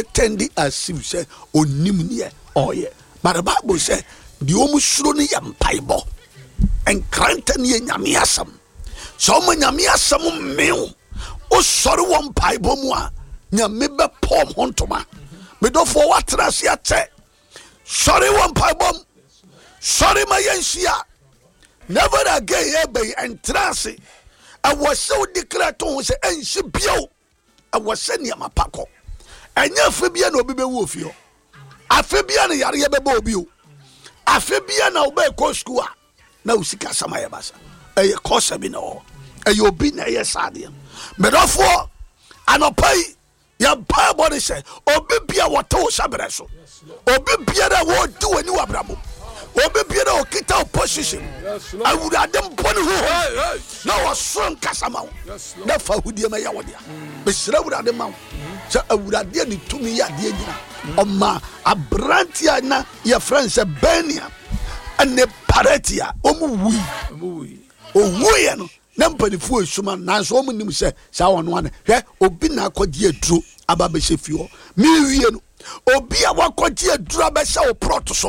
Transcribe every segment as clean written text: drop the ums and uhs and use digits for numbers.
ɔpretɛnde as if sɛ ɔnim neɛ ɔyɛ. But the Bible sɛ deɛ wɔn suro no yɛ mpaebɔ. Nkrantɛ no yɛ Nyame asɛm. Sɛ wɔma Nyame asɛm mmew, wosɔre wɔ mpaebɔ mu a, Nyame bɛpɔ wɔn ho ntoma. Medɔfoɔ woatena ase akyɛ. Sɔre wɔ mpaebɔ mu. Sɔre ma yɛnhyia. Never again ɛbɛyi ɛntena ase. Ɛwɔ sɛ wodi kra to ho sɛ ɛnsi bio. Ɛwɔ sɛ nneɛma pa kɔ. Ɛnyɛ afe bia na obi bɛwu ofie hɔ. Afe bia na yareɛ bɛbɔ obi o. Afe bia na wobɛkɔ sukuu a na wo sika asɛm ayɛ basa. Ɛyɛ kɔsa bi na ɛwɔ hɔ. Ɛyɛ obi na ɛyɛ saa adeɛ no. Medɔfoɔ, anɔpa yi Yɛn mpaebɔ ne sɛ obi bia wɔte wo hyɛberɛ so, obi biara a wɔredi w'ani wɔ abrabɔ mu, obi biara a ɔkita wo position, Awurade mbɔ ne ho na ɔsoro nkasa ma wo na fa ahudeɛ ma yɛ wo dea. Mesrɛ Awurade ma wo sɛ Awurade a ne tumi yɛ adeɛ nyina ɔma aberanteɛ a na yɛfrɛ no sɛ Benia ne Paratia wɔn wui. Owuiɛ no Na mpanimfoɔ resuma no, nanso wɔn nim sɛ saa ɔno ana. Hwɛ, obi na akɔgye aduro aba abɛhyɛ fie hɔ. Mewie no, obi a wakɔgye aduro abɛhyɛ wo prɔt so,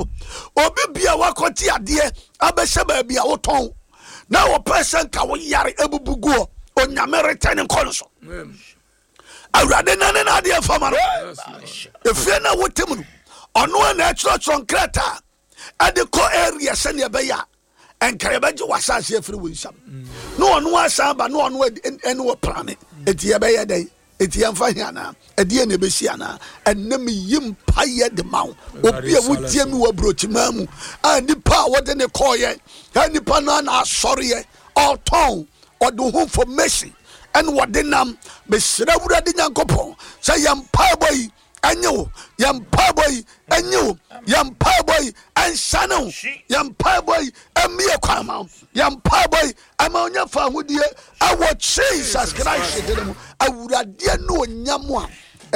obi bi a wakɔgye adeɛ abɛhyɛ baabi a wotɔn, na wɔpɛ sɛ nka wo yare abubu gu hɔ, Onyame retɛne nkɔ no so. Awurade nane n'adeɛ mfa ma no. Efie no a wote mu no, ɔno a na ɛkyerɛkyerɛ nkrataa ɛde kɔ area sɛnea ɛbɛyɛ a ɛnka yɛbɛgye w'asase afiri wo nsam na ɔno asan ba na ɔno ɛne wɔ prane eti yɛbɛyɛ dɛn eti yɛmfa he anaa ɛdeɛ na ɛbɛsi anaa ɛnɛ meyi mpayɛ de ma wo obi a wotie mi wɔ aburokyimaa mu a nipa a wɔde ne kɔɔyɛ a nipa no ana asɔreɛ ɔtɔn ɔde ho information ɛne wɔde nam mesrɛ Awurade Nyankopɔn sɛ yɛn mpaebɔ yi ɛnye wo yɛn mpaebɔ yi ɛnye wo yɛn mpaebɔ yi ɛnsane wo yɛn mpaebɔ yi ɛmmie kwan ma wo yɛn mpaebɔ yi ɛma ɔnyɛ fa ahodie ɛwɔ Jesus Christ dene mu. Awuradeɛ ne onyam a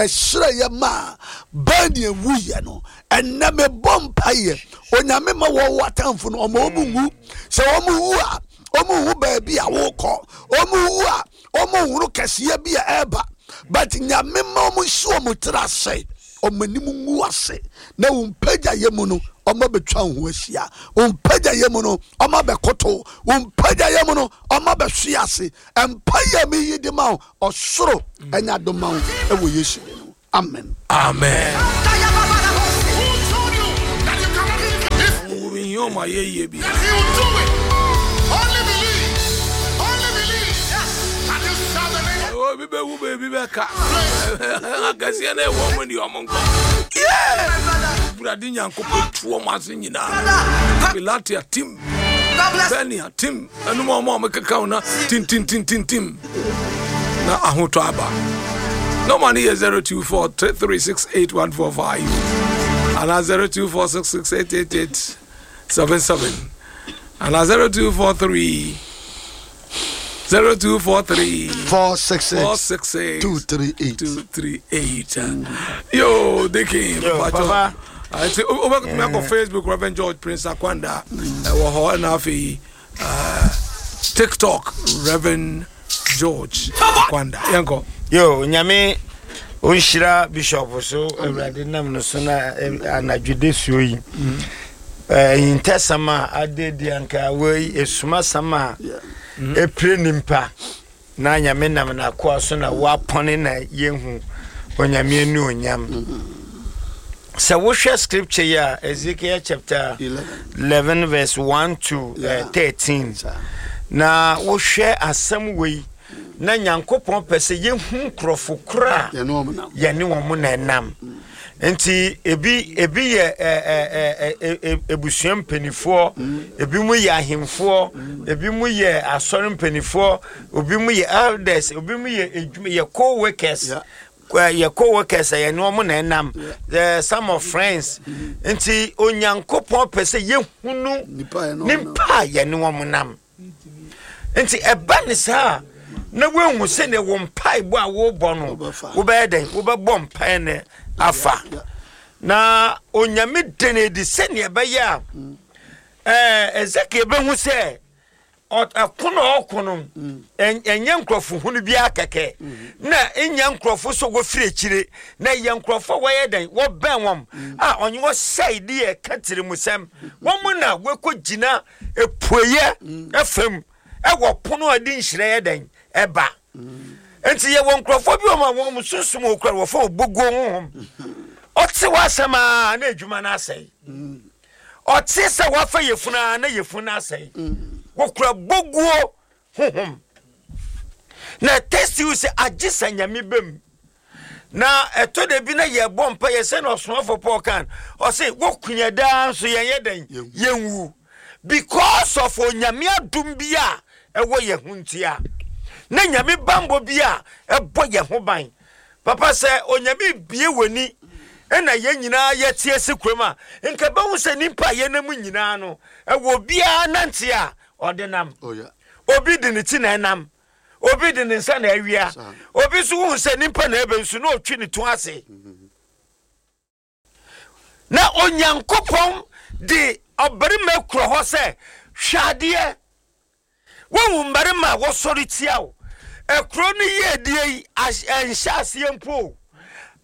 ɛhyerɛ yɛ maa bɛn ewuyɛ no ɛnɛ mebɔ mpaeɛ Onyame ma wɔn atamfo no ɔma wɔn nwu sɛ wɔn wu a wɔn hu baabi a wɔkɔ wɔn wu a Wɔn nhunu kɛseɛ bi a ɛreba, but Nyame ma wɔn nsi wɔn tiri ase, wɔn anim ngu ase, na wɔn mpagyayɛ mu no wɔn abɛtwa wo ho ahyia, wɔn mpagyayɛ mu no wɔn abɛkoto, wɔn mpagyayɛ mu no wɔn abɛhwe ase. Mpaeɛ a meyi de ma wo, ɔsoro ɛnyɛ adom ma wo ɛwɔ Yesu din mu. Amen. Amen. Obi bɛwu baabi bɛka akɛseɛ na ɛwɔ mu deɛ ɔmo nkɔ Awurade Nyankopɔn tu ɔmo ase nyinaa Pilate atim Bɛni atim Ɛnom a wɔn a wɔkeka wo na tintintintintim na ahotɔ aba. Nɔma no yɛ 0243368145 anaa 0246688877 anaa 0243 0243 466 466 238 238. Yo, Dikin, Yo, Papa. Nti wobɛtumi akɔ Facebook Reverend George Prince Akwanda ɛwɔ hɔ ɛna afei TikTok Reverend George Akwanda yɛnkɔ. Yo, Nyame ɔnhyira Bishop so Awurade nam no so na anadwo de suo yi ahintasɛm a adedi anka wei esumasɛm a epire nimpa Na Nyame nam n'akoa so na wapɔne na yɛhu Onyame anuonyam. Sɛ wohwɛ scripture yi a, Ezekiel chapter 11 verse 1 to 13, na wohwɛ asɛm wei, na Nyankopɔn pɛ sɛ yɛhu nkurɔfo korɔ a yɛne wɔn na ɛnam. Nti ebi ebi yɛ ɛ ɛ ɛ ebusua mpanimfoɔ, ebi mu yɛ ahemfoɔ, ebi mu yɛ asɔre mpanimfoɔ, obi mu yɛ elders, obi mu yɛ edwuma yɛ co-workers, yɛ co-workers a yɛne wɔn na ɛnam, the some of friends. Nti Onyankopɔn pɛ sɛ yɛhunu nipa a yɛne wɔn nam. Nti ɛba ne saa a, na woahu sɛdeɛ wo mpaebɔ a wobɔ no wobɛyɛ dɛn wobɛbɔ mpae no afa na Onyame da no adi sɛdeɛ ɛbɛyɛ a ɛɛ Ezekiel bɛhu sɛ. Ɛko na ɔko no, ɛnyɛ nkurɔfo hunu biara kɛkɛ, na ɛnyɛ nkurɔfo sɛ wɔfiri akyire, na ɛyɛ nkurɔfo a wɔyɛ dɛn, wɔbɛn wɔn a ɔnye wɔhyɛe de yɛ ka tirimusɛm. Wɔn na wɔkɔgyina apueeɛ fam ɛwɔ pono a ɛde nhyira yɛ dɛn ɛba. Nti yɛwɔ nkurɔfoɔ bi wɔn a wɔn sunsum wɔ kura wɔfɔ oboguo honhom. Ɔte w'asɛm a na adwuma no asɛe. Ɔte sɛ wafa yefunu a na yefunu no asɛe. Wɔkura boguo honhom. Na testiw sɛ agye sɛ Nyame bam. Na ɛtɔ da bi na yɛbɔ mpa yɛ sɛ na ɔsomafo Paul kan ɔse wokunya daa nso yɛn yɛ dɛn yɛnwu because of Onyame adom bi a ɛwɔ yɛn ho ntia na Nyame bambɔ bi a ɛbɔ yɛn ho ban. Papa sɛ Onyame bie w'ani ɛna yɛn nyinaa yɛte ase kurom a, nka bɛhu sɛ nipa a yɛnam nyinaa no ɛwɔ obiara nante a ɔde nam. Oh, yeah. Obi de ne ti na ɛnam, obi de ne nsa na awia, obi nso wohu sɛ nipa na ɛbɛ nso na ɔtwi ne to ase. Na Onyankopɔn de ɔbarima kura hɔ sɛ hwɛ adeɛ. Wohu mmarima a wɔsɔre tia wo. Ekuro no yiedie yi ɛnhyɛ aseɛ mpo o.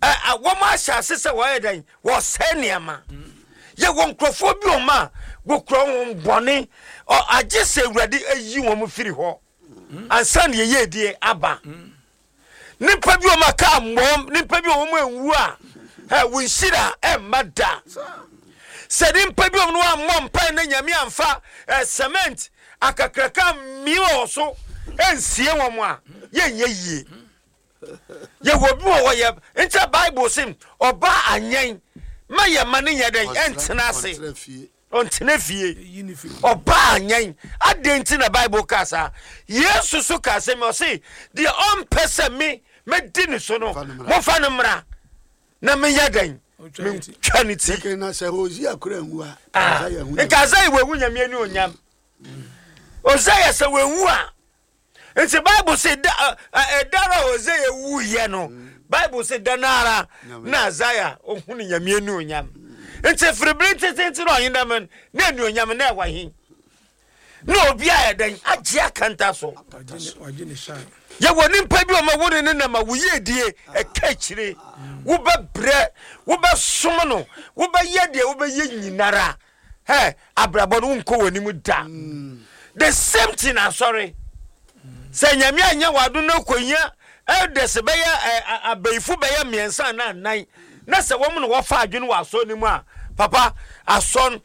Wɔn ahyɛ ase sɛ wɔyɛ dɛn? Wɔsɛe nneɛma. Yɛwɔ nkurɔfoɔ bi wɔn a wɔkura wɔn bɔne. Agye sɛ Awurade ayi wɔn firi hɔ ansa na yiedie aba. Nipa bi wɔn a kaa mmɔm, nipa bi wɔn anwu a, ɛ wo nhyira ɛmma da. Sɛ nipa bi wɔn no ammɔ mpae na Nyame amfa ɛ cement akakraka mmie wɔ so ɛnsie wɔn a, yɛnyɛ yie. Yɛwɔ bi wɔ hɔ yɛ nkyɛ Bible se ɔbaa anyɛn ma yɛ ma ne nyɛ dɛn ɛntena ase. Ɔntena fie. Ɔbaa anyɛn. Adɛn nti na Bible kaa saa? Yesu so kaa sɛ mi, ɔse, deɛ ɔmpɛ sɛ me mɛdi ne so no, momfa no mmra na menyɛ dɛn? Mentwa ne ti. Na sɛ Hosea kura nwu a, ah, nka Isaiah wawu Nyame ani onyam. Hosea sɛ wawu a, Nti Bible se da ɛda a Hosea wuiɛ no, Bible se da no ara na Isaiah ohunu Nyame anuonyam. Nti firi bere ntetente na ɔhene dɛm no, na anuonyam na ɛwɔ he? Na obi a ɛdɛn agye akanta so. Yɛwɔ nipa bi ɔma wo ne ne nam a wo yiedie ɛka akyire. Wobɛbrɛ, wobɛsom no, wobɛyɛ deɛ wobɛyɛ nyinara. Hey, abrabɔ no wonkɔ w'anim da. The same thing asɔre. Sɛ Nyame anyɛ w'ado na kɔhia elders bɛyɛ abayifo bɛyɛ mmiɛnsa anaa nnan na sɛ wɔn na wɔfa adwene wɔ asɔre no mu a, papa asɔre.